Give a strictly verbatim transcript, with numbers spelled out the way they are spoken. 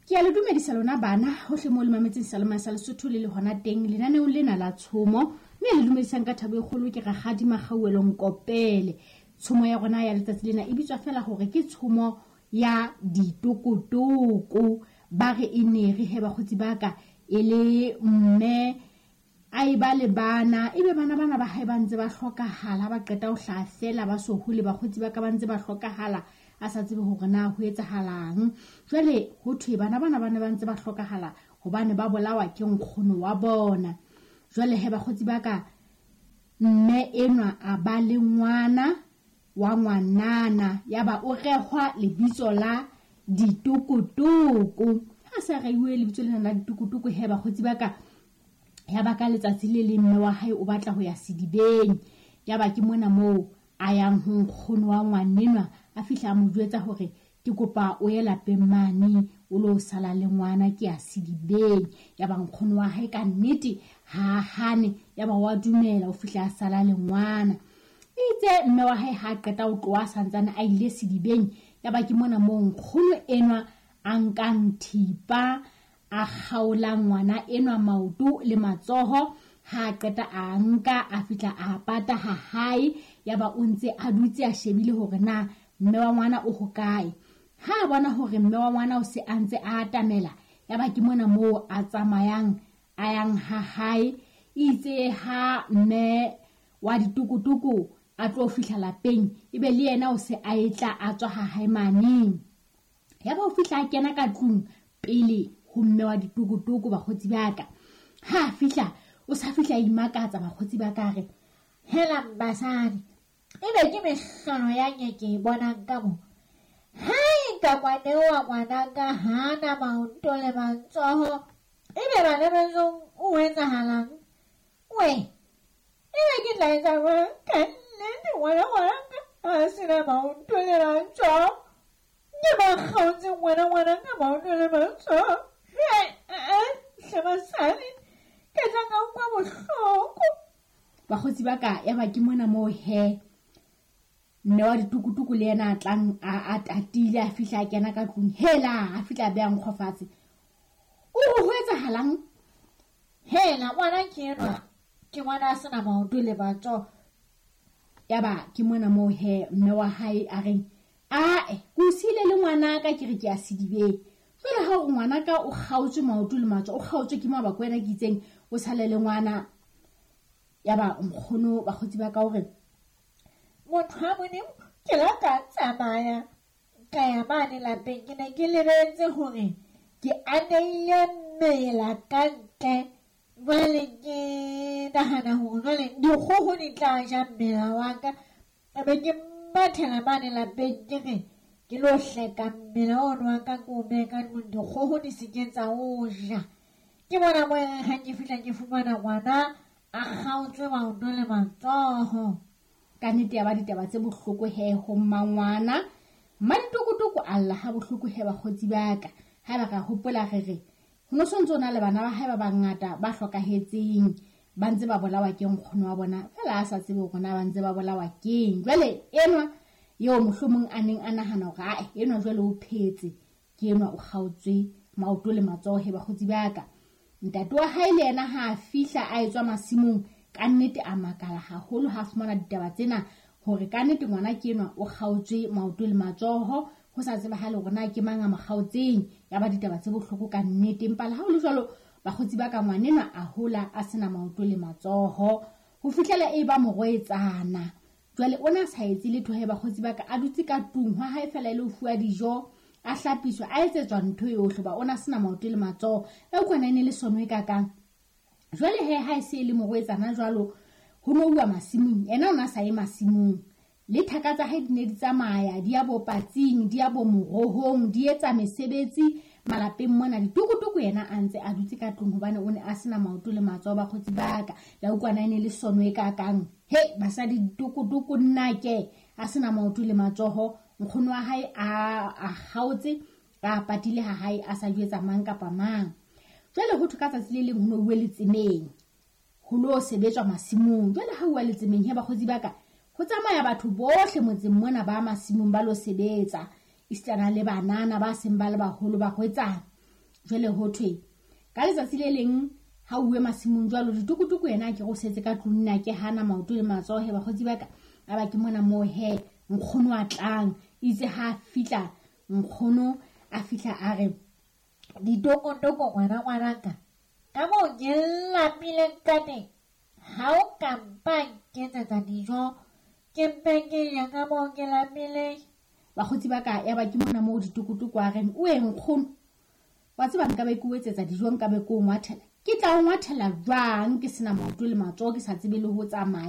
Ke a le dumedisa lona bana hohle moo le mametseng Seyalemoya sa Lesotho le le hona teng lenaneong lena la tshomo, mme le dumedisang ka thabo e kgolo ke Rakgadi Makgauwelo Nkopele. Tshomo ya rona ya letsatsi lena e bitswa fela hore ke tshomo ya ditokotoko. Ba re e ne re he bakgotsi ba ka e le mme a e ba le bana, ebe bana bana ba hae ba ntse ba hlokahala, ba qeta ho hlaha fela ba so hole, bakgotsi ba ka ba ntse ba hlokahala, a sa tsebe hore na ho etsahalang. Jwale ho thwe bana bana ba ne ba ntse ba hlokahala hobane ba bolawa ke nkgono wa bona. Jwale he bakgotsi ba ka, mme enwa a ba le ngwana wa ngwanana, yaba o rehwa lebitso la Ditokotoko. Ha sa reiwe lebitso lena la Ditokotoko he bakgotsi ba ka, ya ba ka letsatsi le leng mme wa hae o batla ho ya sedibeng. Ya ba ke mona moo a yang ho nkgono wa ngwanenwa, a fihla a mo jwetsa hore ke kopa o ye lapeng mane o lo sala le ngwana, ke ya sedibeng. Ya ba nkgono wa hae ka nnete ha hane, ya ba wa dumela, o fihla a sala le ngwana. Itse mme wa hae ha qeta ho tloha santsane a ile sedibeng, ya ba ke mona moo nkgono enwa a nkang thipa a kgaola ngwana enwa maoto le matsoho. Ha qeta a nka a fihla a pata ha hae, ya ba o ntse a dutse a shebile hore na mme wa ngwana o hokae. Ha a bona hore mme wa ngwana o se a ntse a atamela, ya ba ke mona moo a tsamayang a yang ha hae. Itse ha mme wa ditokotoko a tlo fihla lapeng, ebe le yena o se a etla a tswa ha hae maneng. Ya ba o fihla a kena ka tlung pele ho mme wa ditokotoko bakgotsi ba ka. Ha fihla o sa fihla a imakatsa bakgotsi ba ka, re hela basadi, ebe ke mehlolo ya nke ke e bonang ka mo. Ha e ka ngwane wa ngwanaka hana maoto le matsoho, ebe bana besong o etsahalang? We, ebe ke tla etsa jwang ka nnete ngwana ngwanaka a sena maoto le matsoho? Ke ba kgaotse ngwana ngwanaka maoto le matsoho. He, hle basadi, ke tla ka utlwa bohloko. Bakgotsi ba ka, ya ba ke mona moo he mme wa ditokotoko le yena a tlang a a tatile, a fihla a kena ka tlung, hela a fihla a beha nkgo fatshe. O re ho etsahalang? Hela ngwana ke enwa, ke ngwana a sena maoto le matsoho. Ya ba ke mona moo he mme wa hae a reng, ae ke o siile le ngwana ka, ke re ke ya sedibeng. Jwale ha o ngwana ka o kgaotswe maoto le matsoho, o kgaotswe ke mabaka wena ke itseng o sale le ngwana. Ya ba nkgono bakgotsi ba ka hore motho wa Modimo, ke la ka tsamaya ka ya mane lapeng, ke ne ke lebetse hore ke aneile mmela ka ntle. Jwale ke nahana hore jwale dikgoho di tla ja mmela wa ka, ebe ke mathela mane lapeng ke re ke lo hleka mmela ono wa ka ke o behe ka ntlong, dikgoho di se ke tsa o ja. Ke bona mo e reng ha ke fihla ke fumana ngwana a kgaotswe maoto le matsoho. Ka nnete ya ba ditaba tse bohloko he ho mmangwana. Mmaditokotoko a lla ha bohloko he bakgotsi ba ka. Ha ba ka hopola re re ho no sontso na le bana ba hae ba bangata ba hlokahetseng, ba ntse ba bolawa ke nkgono wa bona, fela a sa tsebe hore na ba ntse ba bolawa keng. Jwale enwa eo mohlomong a neng a nahana hore ae enwa jwale o phetse, ke enwa o kgaotswe maoto le matsoho he bakgotsi ba ka. Ntate wa hae le yena ha a fihla a etswa masimong, ka nnete a makala haholo ha fumana ditaba tsena hore ka nnete ngwana ke enwa o kgaotswe maoto le matsoho, ho sa tsebahale hore na ke mang a mo kgaotseng. Ya ba ditaba tse bohloko ka nnete. Empa le ha ho le jwalo bakgotsi ba ka, ngwanenwa a hola a sena maoto le matsoho ho fihlela e ba morwetsana. Jwale o na sa etse letho he bakgotsi ba ka, a dutse ka tlung ha hae fela e le ho fuwa dijo, a hlapiswa, a etsetswa ntho yohle, ba o na sena maoto le matsoho. Ya utlwana e ne le sono e kakang. Jwale he ha e se e le morwetsana jwalo, ho no uwa masimong, yena o na sa ye masimong. Le thaka tsa hae di ne di tsamaya, di ya bo patsing, di ya bo morohong, di etsa mesebetsi malapeng mona. Ditokotoko yena a ntse a dutse ka tlung hobane o ne a sena maoto le matsoho bakgotsi ba ka. La utlwana e ne le sono e kakang. He basadi ditokotoko nna ke a sena maoto le matsoho, nkgono wa hae a a kgaotse, a patile ha hae a sa jwetsa mang kapa mang. Jwale ho thwe ka tsatsi le leng ho no uwe letsemeng, ho lo sebetswa masimong. Jwale ha uwa letsemeng he bakgotsi ba ka, ho tsamaya batho bohle motseng mona ba masimong ba lo sebetsa, esitana le banana ba seng ba le baholo ba hwetsana. Jwale ho thwe ka letsatsi le leng ha uwe masimong jwalo, Ditukutuku yena a ke go setse ka tlung, nna ke hana maoto le matsoho he bakgotsi ba ka. A ba ke mona moo he nkgono a tlang, itse ha fihla nkgono a fihla a re, Ditokotoko ngwana ngwanaka, ka moo ke lapileng ka teng, ha o ka mpa nketsetsa dijo, ke mpe ke ya ka moo ke lapileng. Bakgotsi ba ka, ya ba ke mona moo Ditokotoko a reng, o e nkgono, wa tseba nka be ke o etsetsa dijo, nka be ke o ngwathela. Ke tla o ngwathela jwang ke sena maoto le matsoho, ke sa tsebe le ho tsamaya.